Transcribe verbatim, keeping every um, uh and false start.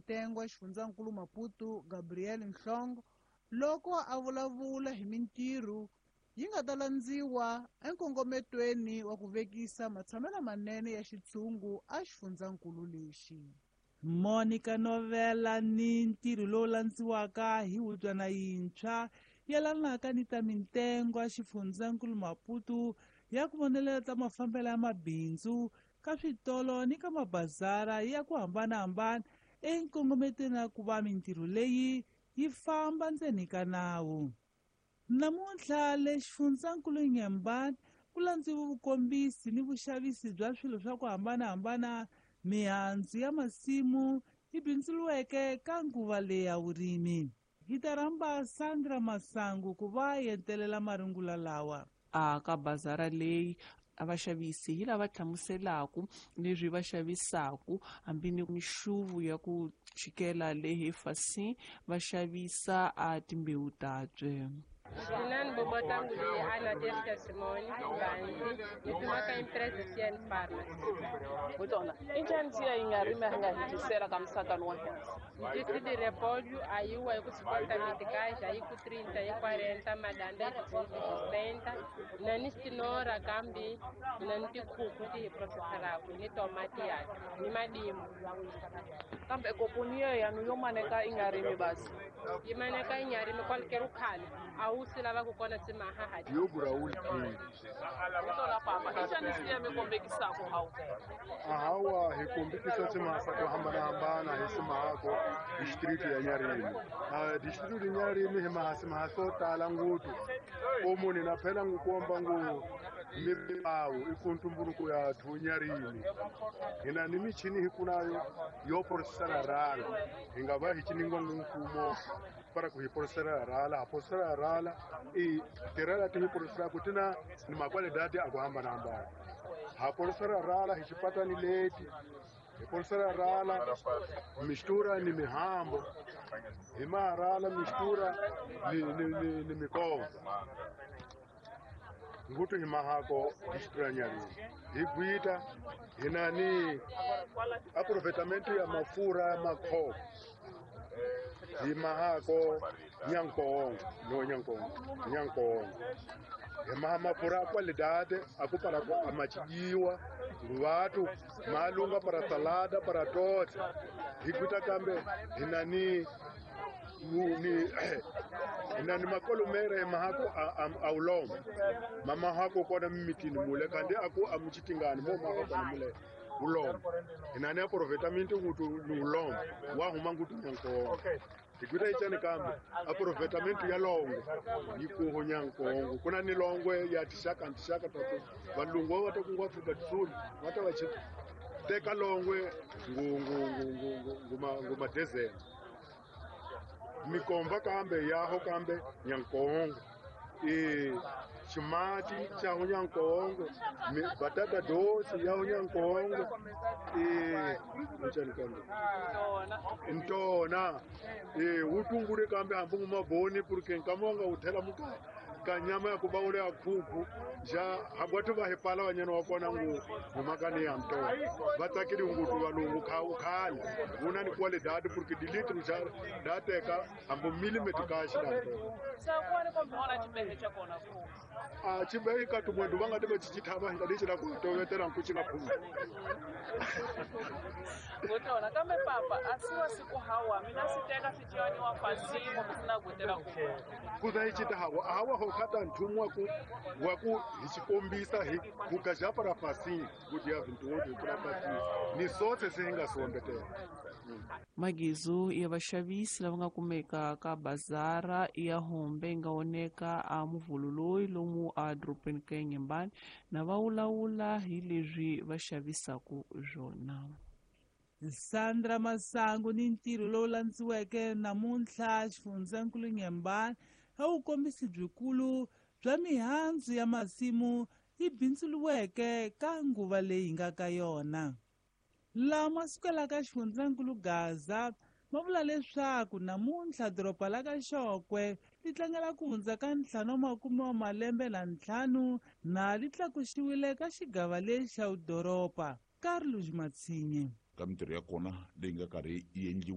mintengo ya xifundzankulu Maputo Gabriel Nhlongo loko a vulavula hi mintirho yi nga ta landziwa enkongometweni wa ku vekisa matshamelo manene ya xitshungu a xifundzankulu lexi. Monica Novela ni ntirho lowu landziwaka hi hubyana yintshwa yelanaka ni ta mintengo ya xifundzankulu Maputo ya ku vonelela ta mafambelo ya mabindzu ka switolo ni ka mabazara ya ku hambanahambana enkongometweni ya ku va mintirho leyi yi famba ndzeni ka nawu. Namuntlha le xifundzankulu Inhambane ku landziwe vukombisi ni vuxavisi bya swilo swa ku hambanahambana, mihandzu ya masimu yi bindzuriweke ka nguva leyi ya vurimi. Hi ta rhamba Sandra Masangu ku va yentelela marungula lawa. A ka bazara leyi a vaxavisi hi lava hlamuselaku leswi va xavisaku hambi ni mixuvu ya ku chikela lehe fasi va xavisa a timbewu tatswe. Sinani Bobotangu leyi Ana Tercia Simone Banzi ni tumaka empresa C N Farmers. Botona, i njhani siya yi nga rimi a nga hetisela ka musakano wa hina? Disse de repolho, aí o aí com cinquenta meticais, aí com trinta, aí quarenta, madanda aí com sessenta, na nistinora kambi, na ntikhuku ti hi processaraku, ni tomati ya, ni madimu. Kambe koponi ya nu yo maneka i nga rimi basi. Yi maneka i nga rimi qualquer ukhale, a wu swi lava ku kona swi mahaha. Yo Raul King. Botona papa, i njhani siya mi kombekisaku hawu? Ahawa hi kombekisa swimahasa ku hambanahambana hi swimahako district ya Nyarimi. Ah, district ya Nyarimi hi mahasi mahasi o tala ngopfu. Ko munhu na phela ngu komba ngu mibawu i ku ntumbuluko ya thu Nyarimi. Hina ni michini hi kunayo yo processara rala. Hi nga va hi ciningwa ngu mfumo para ku hi processara rala, ha processara rala i tirela ti hi processara ku tina ni makwalidadi a ku hambanahambana. Ha processara rala hi xipatani leti. Hi processara rala mistura ni mihambo. Hi maharala mistura ni, ni, ni, ni mikombo. Ngutu hi mahako district ya Nyarimi. Hi gwita hina ni aproveitamento ya mafura ya makhopo. Hi mahako Nyankongo, no Nyankongo, Nyankongo. Hi maha mafura a qualidade a ku para ku amachijiwa vatu malunga para salada para tote. Hi gwita kambe hina ni ni hina ni makolomere hi mahako a, a, a ulombo. Mama hako kona mimitini mule kandi aku amuchitingani mo mahako kona mule ulombo. Hina ni aproveitamento ngutu ni ulombo wa huma ngutu Nyankongo. Hi gwita ichani kambe aproveitamento ya longwe yi kuho Nyankongo. Kuna ni longwe ya tixaka tixaka ta ku valungu va ta kungu Afrika do Sul va ta va chi teka longwe ngu ngu ngu ngu ngu nguma nguma desert. Mikomba kambe yaho kambe Nyankongo. E ximati xa ho Nyankongo, batata doce ya ho Nyankongo. E njani kambe? Ntona. E wu tungule kambe hambi ngu maboni porque nkama wa nga wu thela muka ka nyama ya ku va wu ya khuku ja hagwathu va hi pala vanyana wa kona ngu ngumakani ya ntona. Va tsakeli nguthu valungu kha u khale wu na ni qualidade porque di litro ja da teka hambi millimeter ka xi da ntona. Sa ku ni kombe ona xibehe xa kona ku. A xibehe ka tumwendu va nga ti va chichithava hi nga lexi la ku tovetela nku xi nga phumi. Botona kambe papa a si wa siku hawa mina swi teka swi ciyaniwa fasi kumbe swi na gutela ku. Ku za hi cita hawa a hawa ho khata nchumu wa ku wa ku hi xikombisa hi ku gaja para fasi ku dia vinte e oito para fasi ni sotse se hi nga swi ombetela. Magizu ya vaxavisi lava nga kumeka ka bazara ya Hombe yi nga oneka a muvhulu lomu a dorobeni ka Inhambane na va vulavula hi leswi va xavisaku swona. Sandra Masangu ni ntirho lowu landziweke namuntlha xifundzankulu Inhambane a wu kombisi byikulu bya mihandzu ya masimu yi bindzuriweke ka nguva leyi nga ka yona. Lama sukelaka xifundzankulu Gaza ma vula leswaku namuntlha doroba la ka Xokwe li tlangela ku hundza ka ntlhanu wa makume wa malembe na ntlhanu na li tlakuxiwile ka xigava lexi xa vudoroba. Carlos Matsinye. Ka mintirho ya kona leyi nga karhi yi endliwa.